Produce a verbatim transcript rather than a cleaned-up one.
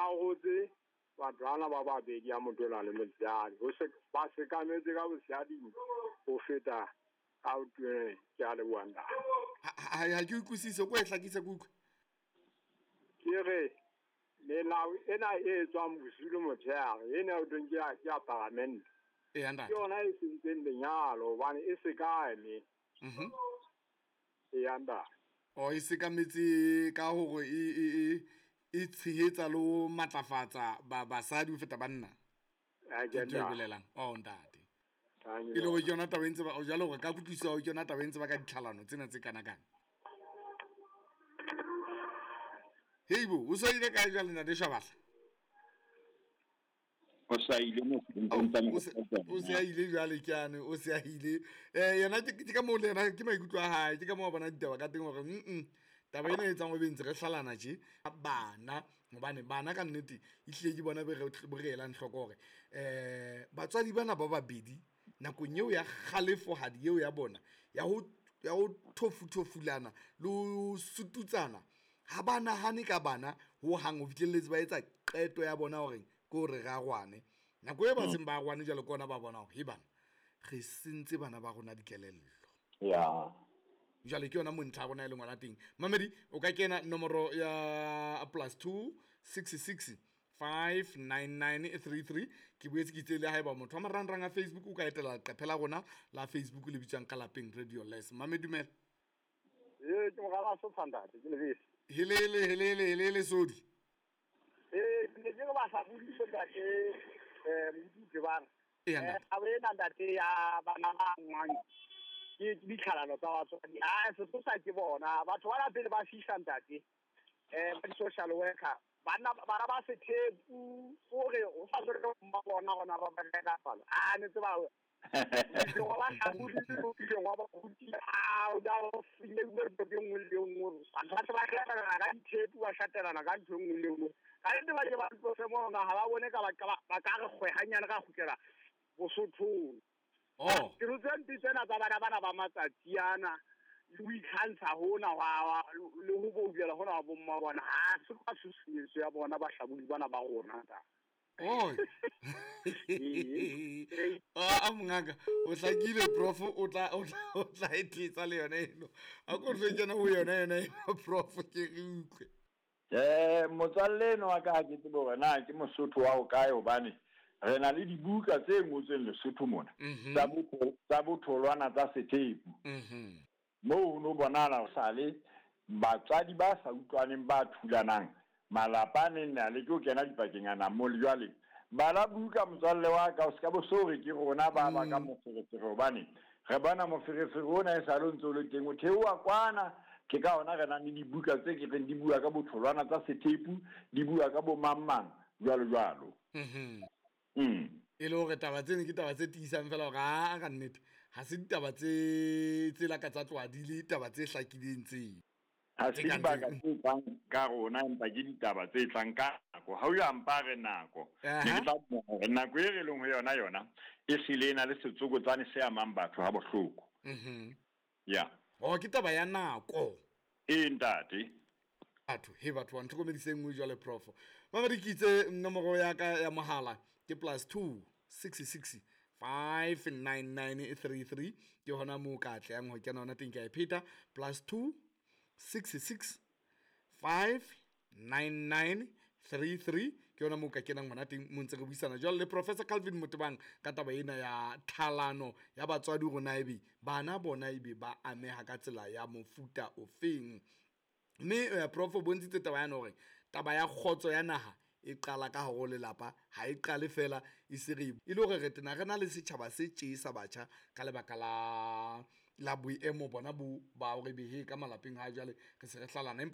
arotse batho bana ba babedi ya motona le motshehadi. Ho se ba sekametse ka botshehading ho feta ka botoneng. Ke a leboha ntate. Ha ke utlwisise, ko e hlakise ke utlwe. Ke re melao ena e tswang bosiu le motshehare ena o teng ke ya ke ya paramente. Eya ntate. Ke yona e sentseng lenyalo hobane e sekame. Mhm. Eya ntate. O e sekametse ka hore e e e e tshehetsa le ho matlafatsa ba basadi ho feta banna. Ha Ke ke ntho e ntate. bolelang. Oh ntate. E le hore ke yona taba e ntse ba jwale hore ka kutlwisiso ke yona taba e ntse ba ka ditlhalano tsena tse kana kana. Heibo, o so ile kae jwale ntate Shabatla? O sa ile mo O se o se a ile jwale ke ane, o se a ile. Eh yena ke ke ka moo le yena ke maikutlo a hae, ke ka moo a bona ditaba ka teng hore mm taba ena e etsang o be ntse re hlalana tje bana, hobane bana ka nnete ehlile ke bona be re bo re elang hloko hore eh batswadi bana ba babedi nakong eo ya kgalefohadi eo ya bona ya ho ya ho thofuthofulana le ho sututsana, ha ba nahane ka bana ho hang ho fihlelletse ba etsa qeto ya bona hore ke hore re arwane. Nako e ba seng ba arwane jwalo ke ona ba bona hore he bana re sentse bana ba rona dikelello. Ya. Jwale ke yona mo ntlha ya rona e leng hona teng. Mamedi o ka kena nomoro ya plus two six six five nine nine three three. Ke boetse ke itse le haeba motho wa marangrang a Facebook o ka etela leqephe la rona la Facebook le bitswang ka Lapeng Radio Les. Mamedi dumela. Ee, ke mogala Sotho ntate, ke lebese. Helele helele helele sodi. Ee, ke ne ke re ba sa bodise ntate, eh, Modise ba re. Eya, ntate. Eh, taba ena ntate ya bana ba ngwang ke ditlhalano tsa batswadi. Ah, sesosa ke bona batho bana pele ba fihla ntate, eh, ba di-social worker, banna bana ba sethepu hore o sa tswe ba bona hona ba ba ka fala. Ah, ne tseba wa ba hlabodile, o ile wa ba rutile. Ah, o da o file o le e nngwe le e nngwe. Batho ba se ba shatelana ka dithepu, ba shatelana ka ntho e nngwe le e nngwe. Ka nnete ba ke ba tlose mona, ha ba bone ka ba ka ba, ba ka re kgwe hanyane ra kgutlela Bosothong. Oh. Ke rutse mpe tsena tsa bana bana ba matsatsi ana, le ho ikgantsha hona hwa, hwa, le ho boulela hona wa bomma bona. Ha se ka tshusumetso ya bona bahlabodi bana ba rona ta. Oh. Ah, mongaka, o hlakile prof, o tla, o tla, o tla e thetsa le yona eno. A ko tle kena ho yona yona eno prof, ke re utlwe. Eh, motswalle eno wa ka ha ke tsebe hore na ke Mosotho wa ho kae, hobane re na le dibuka tse ngotsweng Lesotho mona, Mhm. tsa botho, tsa botholwana tsa sethepu. Mhm. Moo ho no bonahala ho sale batswadi ba sa utlwaneng ba thulanang, malapa a neng a leke ho kena dipakeng ana mo le jwale. Bala buka motswalle wa ka, o ska bo so re ke rona ba ba ka Mm. moferefere, hobane re bona moferefere ona e sale o ntse o le teng, o theoha kwana. Ke ka hona re nang le dibuka tse ke reng di bua ka botholwana tsa sethepu, di bua ka bo mang mang, jwalo jwalo. Mhm. Mm. E le hore taba tseno ke taba tse tiisang fela hore ha ka nnete ha se ditaba tse, tse la ka tsa tloha di le taba tse hlakileng tse. Ha se Tse kang dibaka tse. tse tlang ka rona, empa ke ditaba tse tlang ka nako. Ha o ya mpa re nako. Aha. Ne ke tla bua hore nako e re leng ho yona yona e hlile e na le setsokotsane se amang batho ha bohloko. Mhm. Ya. Oh, ke taba ya nako. Ee, ntate. Batho, he batho ba ntlhokomedise nngwe jwale prof. Mamedi ke itse nomoro ya ka ya mohala ke plus two six six five nine nine three three. Ke hona moo ka atlehang ho kena hona teng, ke a e pheta. Plus two six six five nine nine three three. Ke yona moo ka kenang hona teng, mo ntse re buisana jwale le Professor Calvin Motebang ka taba ena ya tlhalano ya batswadi rona ebe bana bona ebe ba ameha ka tsela ya mofuta ofeng. Mme, eh, prof o bontshitse taba yana hore taba ya kgotso ya naha e qala ka hare ho lelapa, ha e qale fela e se re e le hore re tena re na le setjhaba se tjesa batjha ka lebaka la, la boemo bona bo ba hore be he ka malapeng ha jwale re se re hlalana. Empa